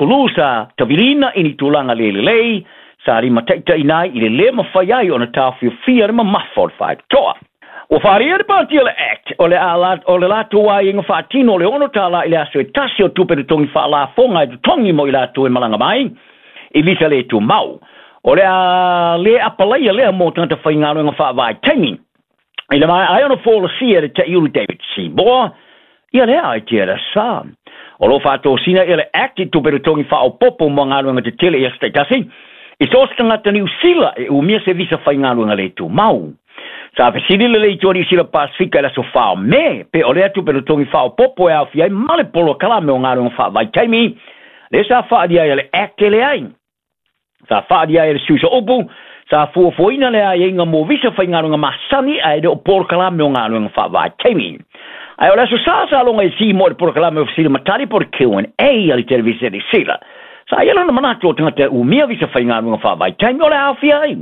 sukulu sa taviliina i ni tulaga le lelei sa limataʻitaʻina ai i le lē mafai ai ona taofiofia le mamafa o le faitotoa. Ua faaalia le patia le Act o le o le latou aiaiga faatino o le $6 i le aso e tasi o tupe totogi faalafoga e totogi mo i latou e malaga mai i visa le tumau. O le a lē apalaia lea mo tagata faigaluega faavaitaimi. I le maea ai ona folasia e le Taʻiulu David Seymour ia lea aitia le aso Sa. O lo o faatosina ia le Act i tupe totogi faaopoopo mo galuega tetele i aso taitasi i so o se tagata Niu Sila e umia se visa faigaluega le tumau. Sa fesili le Leitio Niu Sila Pasefika i le aso 4 o Me pe o lea tupe totogi faaopoopo e aofia ai ma le polokalame o galuega faavaitaimi lea sa faaalia ai e le Act e leai. Sa faaalia ai e le sui sooupu sa fuafuaina le aiaiga mo visa faigaluega masani ae le o polokalame o galuega faavaitaimi. Ae o le aso Sa sa loga i Seymour i le polokalame o fesili ma tali po o le Q&A a le televise Niu Sila. Sa i ai lona manatu o tagata e umia visa faigaluega faavaitaimi o le a aofia ai.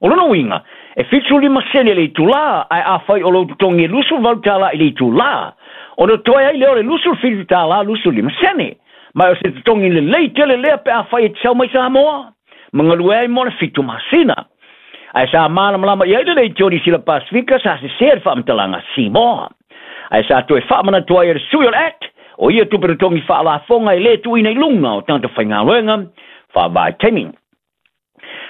O lona uiga, e 75 sene le itulā, ae afai o lou totogi e $28 i le itulā, ona totoe ai lea o le $27.25 sene. Ma o se totogi lelei tele lea pe afai e te sau mai Samoa ma galue ai mo le 7 masina. Ae sa malamalama i ai le Leitio Niu Sila Pasefika sa sesē le faamatalaga Seymour. Ae sa toe faamanatu ai e le sui o le Act, o ia tupe totogi faalafoga e lē tuuina i luga o tagata faigaluega faavaitaimi.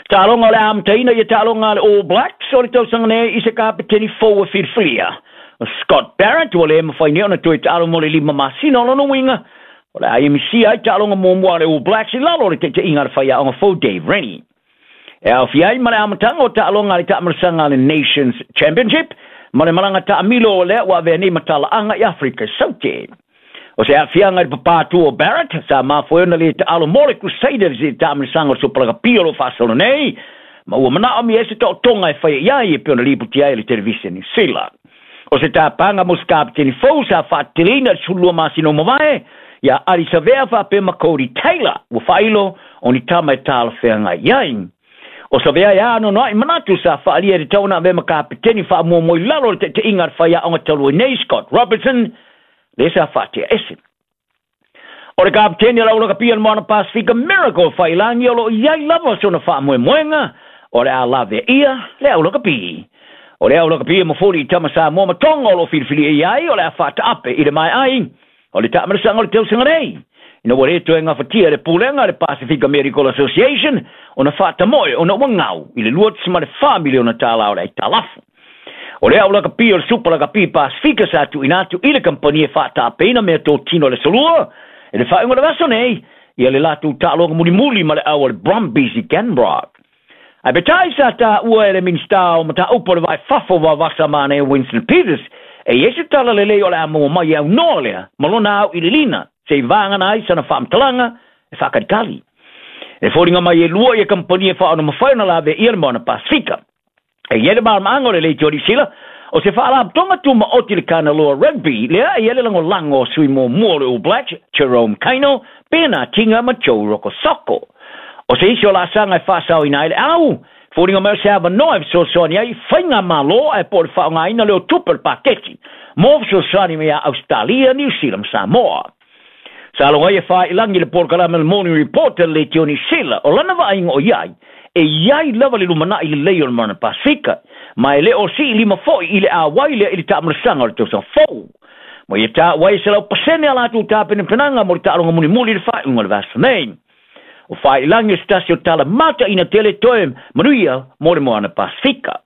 Taaloga o le a amataina ia taaloga a le All Blacks o le tausaga nei i se kapeteni fou e filifilia. O Scott Barrett ua lē mafai nei ona toe taalo mo le 5 masina. O lona uiga, o le a ia misia ai taaloga muamua a le All Blacks i lalo o le taitaiga a le faiaoga fou Dave Rennie. E aofia ai ma le amataga o taaloga a le taamilosaga a le Nations Championship ma le malaga taamilo o lea ua avea nei ma talaaga i Afrika i Saute. O se aafiaga i le papātū o Barrett, sa mafua ai ona lē taalo mo le Crusaders i le taamilosaga o le Super Lakapi o lo o faasolo nei, ma ua manaomia ai se taotoga e faia i ai e pei ona lipotia ai e le televise Niu Sila. O se tapaga mo se kapeteni fou sa faateteleina i le 12 masina ua mavae, iā Ardie Savea faapea ma Codie Taylor ua faailo o ni tama e talafeagai i ai. O Savea e anoanoai manatu sa faaalia i le tau ona avea ma kapeteni faamuamua i lalo o le taitaiga a le faiaoga talu ai nei Scott Robertson, lea sa faatea ese. O le kapeteni o le aulakapia o le Moana Pasefika Miracle Faiilagi o lo o i ai lava sona faamoemoega o le a laveaia le aulakapi. O le aulakapi e mofoli i tama Samoa ma Tonga o lo o filifilia i ai o le a faataape i le maea ai o le taamilosaga o le tausaga nei. Ina ua le toe gafatia e le pulega a le Pasefika Medical Association ona faatamoe ona ua gau i le $2.4 miliona o le aitalafu. O le aulakapi o le Super Lakapi Pasefika sa tuuina atu i le kamupani e faataapeina meatotino a le aso Lua i le faaiuga o le vaiaso nei ia le latou taaloga mulimuli ma le au a le Brumbies i Canberra. Ae peitai sa taua e le Minisita o Mataupu o le Vai Fafo Vavasa Manaia Winston Peters e i ai se tala lelei o le a maua mai e aunoa lea ma lona auiliilina se i vagana ai sana faamatalaga e faakalikali. E foliga mai e lua ia kamupani e faaona mafai ona laveaia le Moana Pasefika. E i ai le malamalamaaga o le Leitio Niu Sila, o se faalapotopotoga tumaoti le Kanaloa Rugby lea e i ai le lagolago o sui muamua o le All Blacks, Jerome Kaino, Bernard Tinga ma Joe Rokocoko. O se isi o laasaga e faasaoina ai le au, foliga mai o se avanoa e fesoasoani ai i faigamalo ae po o le faaaogaina lea o tupe o le paketi mo fesoasoani mai ia Ausetalia, Niu Sila ma Samoa. Sa logo ai e faailagi le polokalame o le Morning Report a le Leitio Niu Sila, o lana vaaiga o i ai, e i ai lava le lumanai lelei o le Moana Pasefika, ma e le o sii lima foi i le āwai lea i le taamilosaga o le tausaga fou. Ma ia taua ai e 100% a latou tapenapenaga mo le taaloga mulimuli i le faaiuga o le vaiaso nei. O faailagi o se tasi o tala mataina tele toe manuia mo le Moana Pasefika.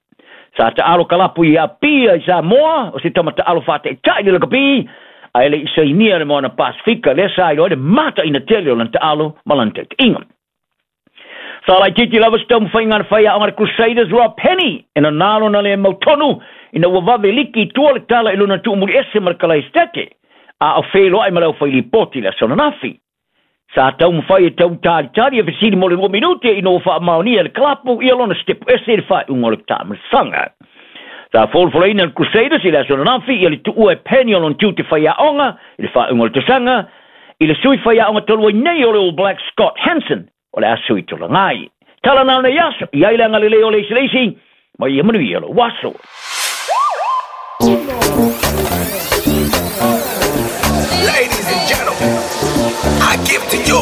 Sa taalo kalapu i Apia i Samoa, o se tama taalo faataitai le lakapi, ae le i sainia le Moana Pasefika lea sa iloa ai le mataina tele o lana taalo ma lana taitaiga. Sa laitiiti lava se taumafaiga a le faiaoga a le Crusaders Rob Penny e nanā lona le mautonu ina ua vave liki i tua le tala i lona tuumuli ese ma le Kalaesetete, a o feiloai ma le aufailipoti i le aso ananafi. Sa taumafai e tautalitali e fesili mo le 2 minute ina ua faamaonia e le kalapu ia lona sitepu ese i le faaiuga o le taamilosaga. Sa folafolaina e le Crusaders i le aso ananafi ia le tuua e Penny o lona tiute faiaoga i le faaiuga o le tausaga i le sui faiaoga talu ai nei o le All Blacks Scott Hansen o le a sui tulaga ai. Tala na o nei aso, i ai le agalelei o le isi le isi, ma ia manuia lou aso. Ladies and gentlemen, I give to you.